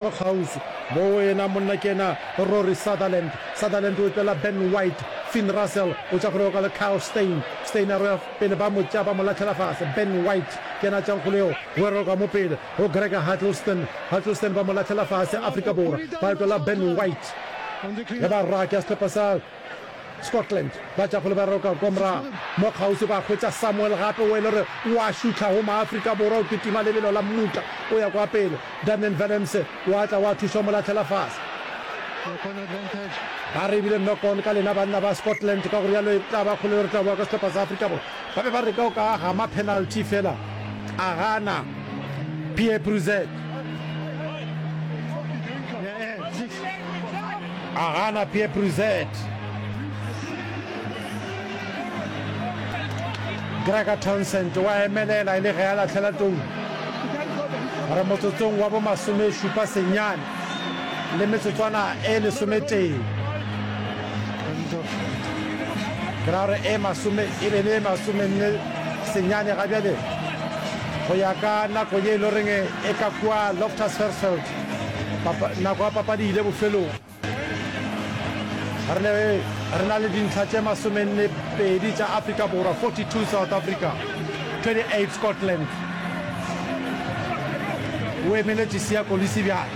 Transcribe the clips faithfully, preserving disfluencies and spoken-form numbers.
Kgauswi mo yena monna ke yena Rory Sutherland. Sutherland o epela Ben White. Finn Russell o tša kgolego ka le Kyle Steyn. Steyn a roya pele ba mo tša ba mo lahlela fase. Ben White ke yena a tšang kgolego go e roka mo pele go Gregor Huddleston. Huddleston ba mo lahlela fase. Afrika Borwa ba epela Ben White ge ba raka sehlopha sa Scotland ba tša kgole ba roka kwa morago mo kgauswi ba hwetša Samuel gape o e le gore o a šutha go Maafrika Borwa o kitima lebelo la mmutla o ya kwa pele Damian Willemse wa tla wa thuša o mo lahlela fase ba re ebile knock on ka lena banna ba Scotland ka go rialo e tla ba kgole re tla boa ka sehlopha sa Afrika Borwa ba be ba re ka o ka gama penalty fela a gana Pierre Bruzet A gana Pierre Bruzet. Gregor Townsend wa emelela e le ge a lahlela tou. Re motsotsong wa bo masomešupa senyane le metsotswana e lesometee. Ke ra gore e masome e be le e masomenne senyane ga bjale go ya ka nako ye e le goreng e ka kua Loftus Versfeld. Papa, nako ya papadi e ile bofelong. Re le, re na le dintlha tše masomenne pedi tša Afrika Borwa, forty two South Africa, twenty eight Scotland. O emeletše Siya Kolisi bjale.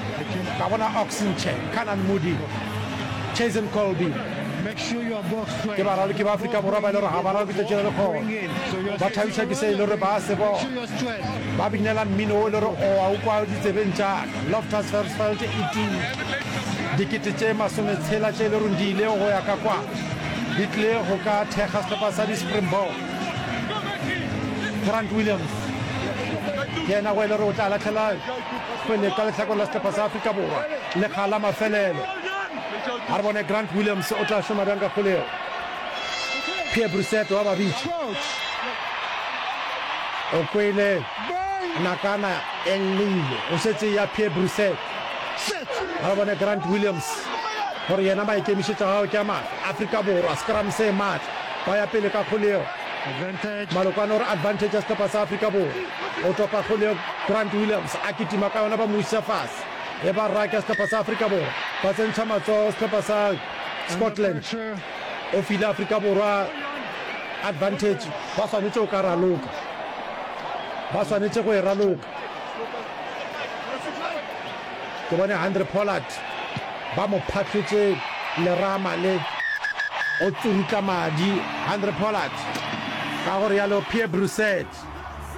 Ka bona Ox Nche, Canan Moodie, Chazen Colby. Ke baraloki ba Afrika Borwa ba e le gore ga ba raloke tšatši la lekgono. Ba thabiša ke se e le gore ba se bona. Ba binela mmino wo e le gore o a o kwa ditsebeng tša ka. Loftus Versfeld e tume. Dikete tše masometshela tše e le gore di ile go ya ka kwa di tlile go ka thekga sehlopha sa di-Springbok. Grant Williams ke yena go e le gore o tla lahlela kgwele ka lehlakoreng la sehlopha sa Afrika Borwa lekga la mafelelo. A re bone Grant Williams o tla šoma bjang ka kgwele yeo. Pierre Brissett wa ba bitša. O kwele nakana e llile. O šetše ya Pierre Brissett. A re bone Grant Williams gore yena maikemišetšo a gagwe ke a mafe. Afrika Borwa, scrum se matla. Ba ya pele ka kgwele yeo. Malokwane o re advantage ya sehlopha sa Afrika Borwa. O topa kgwele yeo Grant Williams a kitima ka yona ba mo iša fase. E ba raka sehlopha sa Afrika Borwa. Ba tsentšha matsogo sehlopha sa Scotland. O file Afrika Borwa advantage. Ba swanetše go ka raloka. Ba swanetše go e raloka. Ke bone Handre Pollard ba mo phahlotše lerama le o tsurutla madi. Handre Pollard ka go realo Pierre Brusset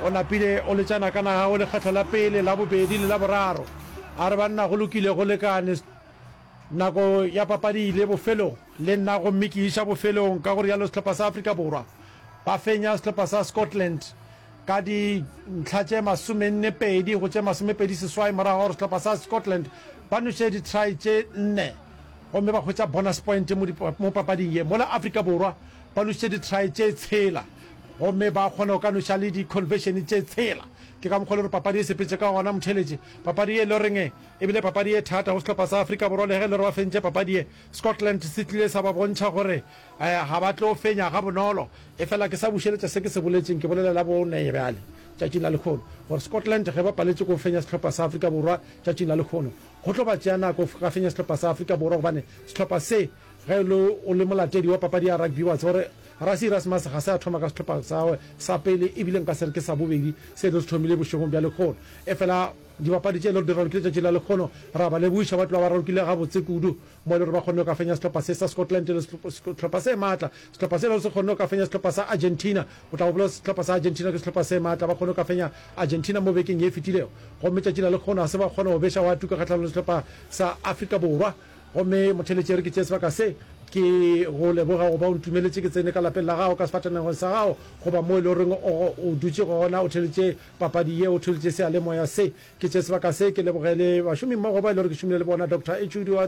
o napile o letšana ka naga go lekgetlo la pele, la bobedi le la boraro. A re banna go lokile go lekane. Nako ya papadi e ile bofelong le nna gomme ke iša bofelong, ka go realo sehlopha sa Afrika Borwa ba fenya sehlopha sa Scotland ka dintlha tše masomenne pedi go tše masomepedi seswai morago ga gore sehlopha sa Scotland ba noše di-try tše nne gomme ba hwetša bonus point mo papading ye, mola Afrika Borwa ba nošitše di-try tše tshela gomme ba kgona go ka noša le di-conversion tše tshela. Ke ka mokgwa e le gore papadi e sepetše ka gona, motheeletši. Papadi ye e le goreng E bile papadi ye thata go sehlopha sa Afrika Borwa le ge e le gore ba fentše papadi ye. Scotland se tlile sa ba bontšha gore ga ba tlo fenya gabonolo. Efela ke sa bušeletša se ke se boletšeng, ke bolela la bone bjale tšatšing la lehono, gore Scotland ge ba paletše ke go fenya sehlopha sa Afrika Borwa tšatšing la lehono, go tlo ba tšea nako go ka fenya sehlopha sa Afrika Borwa gobane sehlopha se ge e le o le molatedi wa papadi ya rugby wa tseba gore Rassie Erasmus ga se a thoma ka sehlopha sa gagwe sa pele ebile nka se re ke sa bobedi se e le se thomile bošegong bja lehono. Efela Dibapadi tše e le gore di ralokile tšatši la lekgono, re a ba lebogiša, ba tloga ba ralokile gabotse kudu mo e le gore ba kgonne go ka fenya sehlopha se sa Scotland e le sehlopha se maatla, sehlopha se e le gore se kgonne go ka fenya sehlopha sa Argentina. O tla gopola sehlopha sa Argentina ke sehlopha se maatla, ba kgonne go ka fenya Argentina mo bekeng ye e fetilego gomme tšatši la lekgono ga se ba kgona go beša wa tuka kgahlanong le sehlopha sa Afrika Borwa. Gomme motheeletši e re ke tšee sebaka se ke go leboga go ba o ntumeletše ke tsene ka lapeng la gago, ka sefatanegong sa gago goba mo e le goreng o o dutše gona o theeletše Papadi ye o thultše seyalemoya se. Ke tše sebaka se ke leboge le bašomimmogo ba e le gore ke šomile le bona, Doctor HOD wa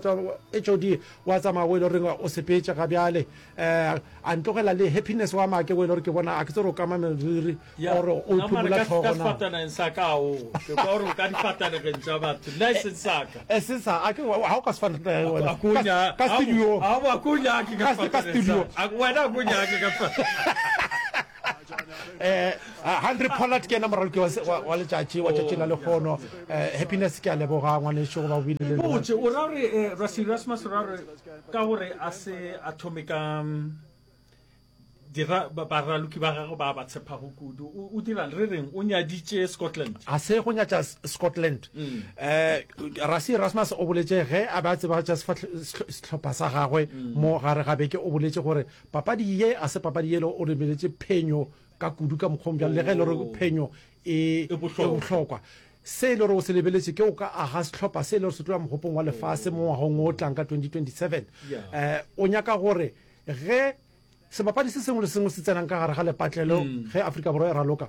HOD wa tsamaya o e le goreng o sepetše ga bjale eh, a ntlogela le Happiness wa make o e le gore ke bona a ke tsebe gore o kama meriri Ya, or o nna mare iphumula ka, ka tlhogo na. sefataneng sa ka o ke kwa gore o ka difatanegeng tša batho nna e seng sa ka E seng sa a ke ga o ka sefatanegeng wena A ko ka, nya- ka a- studio a- a ko nyake ka Ka- ka sefataneng studio. sa- a- wena a ko nyake ka sefataneng. Eh, Handre Pollard ke yena moraloki wa, wa, wa letšatši wa tšatši la lehono. Eh, Happiness ke a leboga ngwanešu go ba o bile le nna. Botse, o ra gore eh, Rassie Erasmus o ra gore ka gore a se a thome ka mm, dira ba- baraloki ba gagwe ba ba tshepago kudu o o dirang re reng o nyaditše Scotland. Ga se go nyatša S- Scotland. Eh, Rassie Erasmus o boletše ge a be a tsebagatša sefahle- sehlo- sehlopha sa gagwe mo gare ga beke, o boletše gore papadi ye a se papadi yelo o lebeletše phenyo ka kudu ka mokgwa o bjalo, le ge e le gore phenyo e E bohlokwa. e bohlokwa. Se e le gore o se lebeletše ke o ka aga sehlopha se e le gore se tlo ya mogopong wa lefase mo ngwagong o tlang ka twenty twenty-seven. Yeah. Eh, o nyaka gore ge sebapadi se sengwe le sengwe se tsenang ka gare ga lepatlelo ge Afrika Borwa e raloka,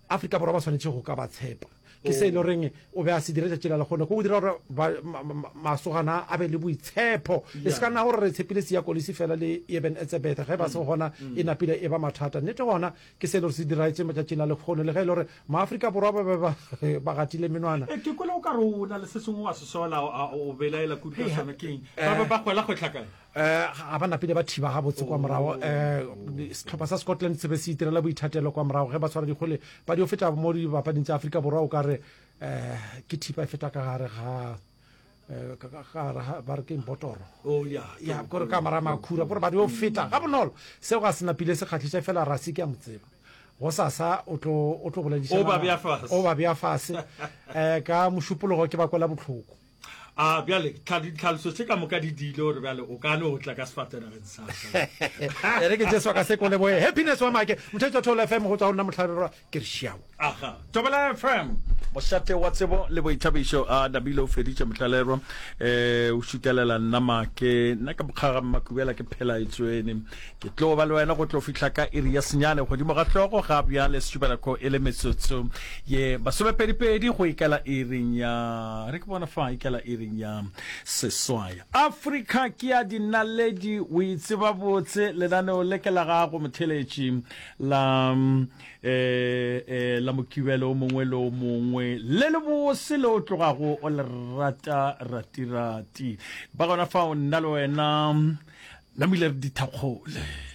Afrika Borwa ba swanetše go ka ba tshepa. Ke se e le goreng o be a se dira tšatši la lekgono, ke go dira gore ba, ma, ma, ma, masogana a be le boitshepo. E se ka nna gore re tshepile Siya Kolisi fela le Eben Etzebeth, ge ba se gona e napile e ba mathata. Nnete gona ke se e le gore se diragetše matšatšing la lekgono, le ge e le gore Maafrika Borwa ba be ba, ba gatile menwana. E, ke kwele o ka re o na le se sengwe wa se sola, a, o belaela kudu ka sona. Ke eng? Ba be ba kgwela kgwehla kae? Eh, ga ba napile ba thiba gabotse kwa morago. Eh, sehlopha sa Scotland se be se itirela boithatelo kwa morago ge ba tshwara dikgwele ba dio feta mo dibapading tša Afrika Borwa, o ka re eh, ke thipa e feta ka gare ga, eh, ka, ka, ka gare ga, ba re ke botoro. Oh, ya, Ya, kore ka mara makhura, kore ba dio feta ga bonolo. Seo ga se napile se kgahliša, fela Rassie ke a mo tseba. Go sasa o tlo, o tlo boledišana O ba bea fase. O ba bea fase. Eh, ka mošupologo ke ba kwela bohloko. A bjale tlha-, ditlhaloso tše ka moka di diile gore bjale o ka no tla ka sefatanageng sa ka. E re ke Jesu ka se kole boye. Happiness wa make. Mothetši wa Thobela F M go tswa go nna Mohlabirwa ke re šiao. Aga. Thobela F M, mošate wa tsebo le boithabišo. A Nabile o feditše Mohlalerwa. Eh, o šutelela nna make. Nna ke mokgaga Mmakubela ke phela e tswene. Ke tlo ba le wena go tlo fihla ka iri ya senyane godimo ga hlogo ga bjale sešupanako e le metsotso ye masomepedipedi go ikela iring ya, re ke bona fa ikela iring ya seswai. Afrika ke ya dinaledi, o e tseba botse, lenaneo le ke la gago motheletši la, eh, eh, la mokibelo o mongwe le o mongwe le le bose le o tlogago o le rata ratirati. Ba gona fao nna le wena namile re dithakgole.